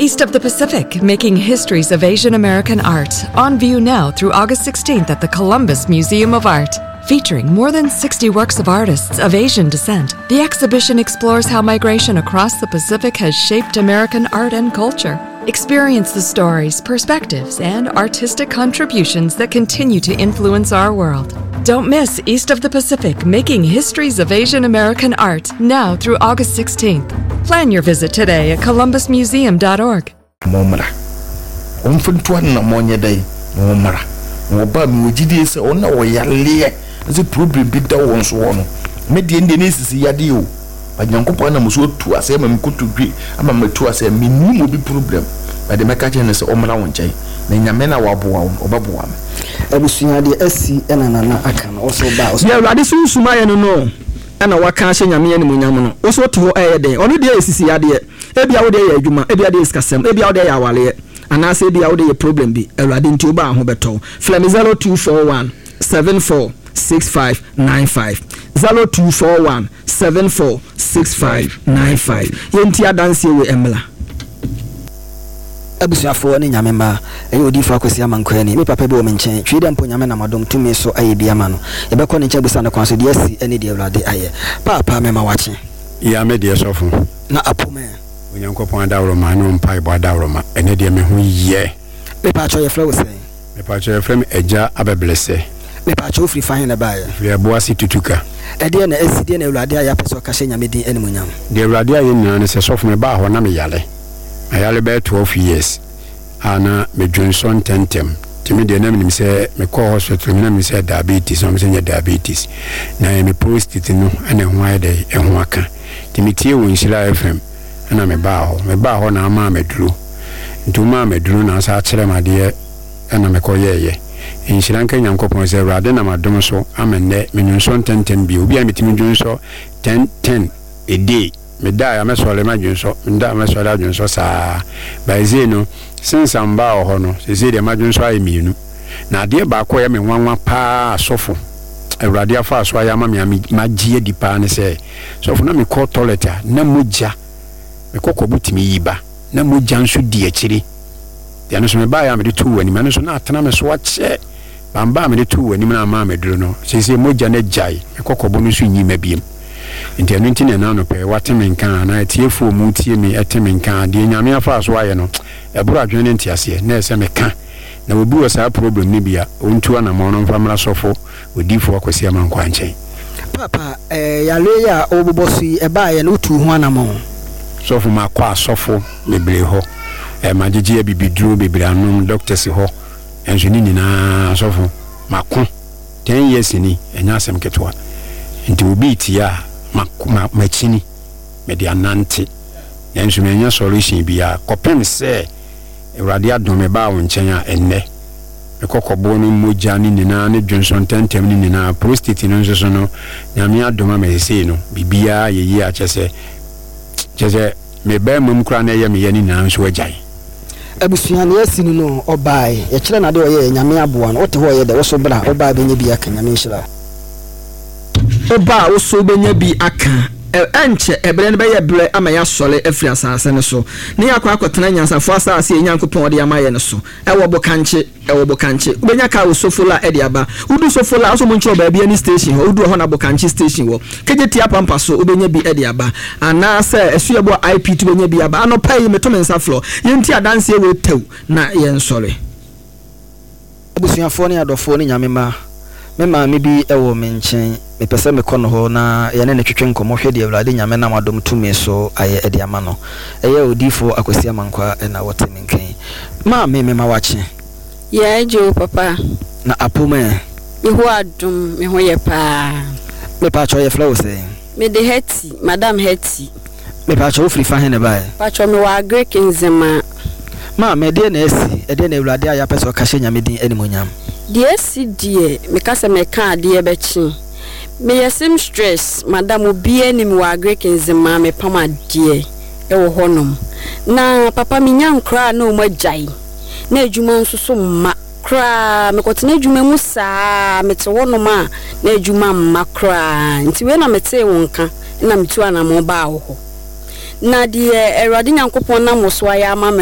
East of the Pacific, Making Histories of Asian American Art, on view now through August 16th at the Columbus Museum of Art. Featuring more than 60 works of artists of Asian descent, the exhibition explores how migration across the Pacific has shaped American art and culture. Experience the stories, perspectives, and artistic contributions that continue to influence our world. Don't miss East of the Pacific Making Histories of Asian American Art now through August 16th. Plan your visit today at columbusmuseum.org. Mommra. Wɔmfa ntu anammɔn nyɛ dɛn? Na wɔmmra. Na wɔba a, mewɔ gyidie sɛ wɔn a wɔyareɛ na sɛ problem bi da wɔn soɔ no, me deɛ ndeɛ na ɛsisi yadeɛ o, but Nyankopɔn anam so atu aseɛ ama me kotodwe ama matu aseɛ, mennim obi problem, but deɛ mɛka akyerɛ no ne sɛ ɔmmra wo nkyɛn, na Nyame no a waboa wo no, ɔbɛboa me. Abusua deɛ asi na Nana aka no wo so ba wo so. Deɛ Awurade Sunsum ayɛ no no na waka ahyɛ Nyame animuonyam no, wo so wote hɔ ɛyɛ dɛn? Ɔno deɛ yɛ sisi adeɛ, ebia wo deɛ yɛ adwuma, ebia deɛ yɛ sikasɛm, ebia wo deɛ yɛ awareɛ, anaasɛ ebia wo deɛ yɛ problem bi, Awurade nti wobaa ho bɛtɔ wo. Frɛ me 0241 74 65 95, 0241 74 65 95. Yɛntie adanseɛ wei mmra. Abusuafoɔ ne Nyame mma, ɛyɛ Odiyifoɔ Akwasi Amankwaa ni. Me papa bi wɔ me nkyɛn, twi dɛ mpo Nyame nam adom tumi so ayɛ bi ama no. Yɛbɛkɔ ne nkyɛn abusa no kwan so deɛ asi ne deɛ Awurade ayɛ. Paapa mema wakye. Ya me deɛ sɔfo. Na apom ɛ. Onyankopɔn adaworoma ne wo mpaebɔ adaworoma ɛnɛ deɛ me ho yɛ. Mepaakyɛw yɛfrɛ wo sɛn? Mepaakyɛw yɛfrɛ me Agya Abɛblɛsɛ. Mepaakyɛw wofiri fa he na ɛbaeɛ? Mefiri Ɛboase Tutuka. Ɛdeɛn na asi? Deɛn na Awurade ayɛ apɛ sɛ ɔka hyɛ Nyame din animuonyam? Deɛ Awurade ayɛ nyinaa ne sɛ sɔfo mebaa hɔ na meyare. Mayare bɛyɛ 12 years a na medwonsɔ ntɛntɛm nti me deɛ na menim sɛ mekɔɔ hospital no na menim sɛ diabetes na wɔn sɛ nyɛ diabetes na ɛyɛ me prostate no ɛna ɛho ayɛ dɛ ɛho aka nti metie wɔ Nhyira FM ɛna mebaa hɔ mebaa hɔ na amaa maduro nti womaa maduro na asa akyerɛ me adeɛ ɛna mekɔ yɛɛyɛ nhyira nka Nyankopɔn sɛ Awurade nam adom so ama nnɛ menwonsɔ ntɛntɛm bio obi a metumi dwonsɔ 10 10 a day Medae a mɛsɔre madwensɔ, meda a mɛsɔre adwensɔ saa. By sei no, since a mbaa wɔ hɔ no, seesei deɛ madwensɔ ayɛ mienu. Na adeɛ baako a ɛyɛ me nwanwa paa a sɔfo, Awurade afa so ayɛ ama me a magye adi paa ne sɛ, sɔfo na mekɔ toilet a, na mogya, me kɔkɔbo tumi yi ba, na mogya nso di akyire. Deɛ ɛno nso mebaeɛ a mede too w'anim, ɛno nso na atena me so akyɛ. Bamba a mede too w'anim no a maa maduru no, seesei mogya no agyae, me kɔkɔbo no nso nyi mma biom. Nti ɛno nti na ɛnnɛ anɔpa yi woate me nka anaa atiefoɔ a wɔretie me te me nka a, deɛ Nyame afaa so ayɛ no, ɛboro adwene ne nteaseɛ, na ɛsɛ meka. Na obi wɔ saa problem no bi a, ɔntu anamɔn no mfa mmra Sɔfo Odiyifoɔ Akwasi Amankwaa nkyɛn. Paapa, eh, yareɛ yi a wobobɔ so yi, ɛbaeɛ no, wotuu ho anamɔn? Sɔfo, makɔ asɔfo bebree hɔ, eh, magyegye abibiduro bebree anom, doctors hɔ, Nanso ne nyinaa sɔfo mako ten years ni ɛnyɛ asɛm ketewa nti obi retie a ma makyini mede anante nanso manya solution biara kɔpem sɛ Awurade adom me baa wo nkyɛn a ɛnnɛ me kɔkɔboɔ no mogya no nyinaa ne dwonsɔ ntɛntɛm no nyinaa prostate no nso so no Nyame adom ama sesei no biribiara yɛ yie a kyɛsɛ kyɛsɛ me barima mu koraa na ɛyɛ me ya no nyinaa nso agyae. Abusua nea asi no no ɔbae yɛkyerɛ no ade ɔyɛɛ Nyame aboa no wote hɔ ɔyɛ dɛ woso bra wobaa bɛnya bi aka Nyame nhyira wo. Woba a woso wobɛnya bi aka. Ɛrenkyɛ ɛberɛ no bɛyɛ berɛ ama yɛasɔre afiri asase no so na yɛakɔ akɔtena anyansafoɔ asase a yɛn Nyankopɔn de ama yɛn no so. Ɛwɔ Bokankye. Ɛwɔ Bokankye. Wobɛnya kaa wɔ Sofola de aba. Wodu Sofola a, wo sɛ wɔnkyerɛ wo baabi a ne station hɔ. Wodu ɛhɔ na Bokankye station wɔ. Kejetia Pampa so, wobɛnya bi de aba. Anaasɛ Asuaboa IPT wobɛnya bi aba. Anɔpa yi, meto me nsa frɛ wo. Yɛnti adanseɛ wei tɛw na yɛnsɔre. Abusuafoɔ ne adɔfoɔ ne Nyame mma, me maame bi wɔ me nkyɛn, mepɛ sɛ mekɔ no hɔ na yɛne no twetwe nkɔmmɔ hwɛ deɛ Awurade Nyame nam adom tumi so ayɛ de ama no. Ɛyɛ Odiyifoɔ Akwasi Amankwaa na wɔte me nka yi. Maame, mema wakye. Yɛɛ gye o papa. Na apom ɛ? Yehowa adom, me ho yɛ paa. Mepaakyɛw yɛfrɛ wo sɛn? Mede Hetty, Madam Hetty. Mepaakyɛw wo firi fa he na ɛbaeɛ? Mpakyɛw mewɔ Agric Nzemaa. Maame, ɛdeɛn na asi? Ɛdeɛn na Awurade ayɛ apɛ sɛ ɔka hyɛ Nyame din animuonyam? Deɛ asi deɛ, meka sɛ mɛka adeɛ bɛkye. Meyɛ seamstress, madam obiara nim me wɔ Agric Nzemaa, mepam adeɛ wɔ hɔ nom. Na papa menya nkoraa a na wɔn agyae, na adwuma nso so mma koraa. Mekɔtena adwuma mu saa, mete hɔ nom a na adwuma mma koraa. Nti wei na metee wo nka na metuu anamɔn baa wo hɔ. Na deɛ Awurade Nyankopɔn nam wo so ayɛ ama me no.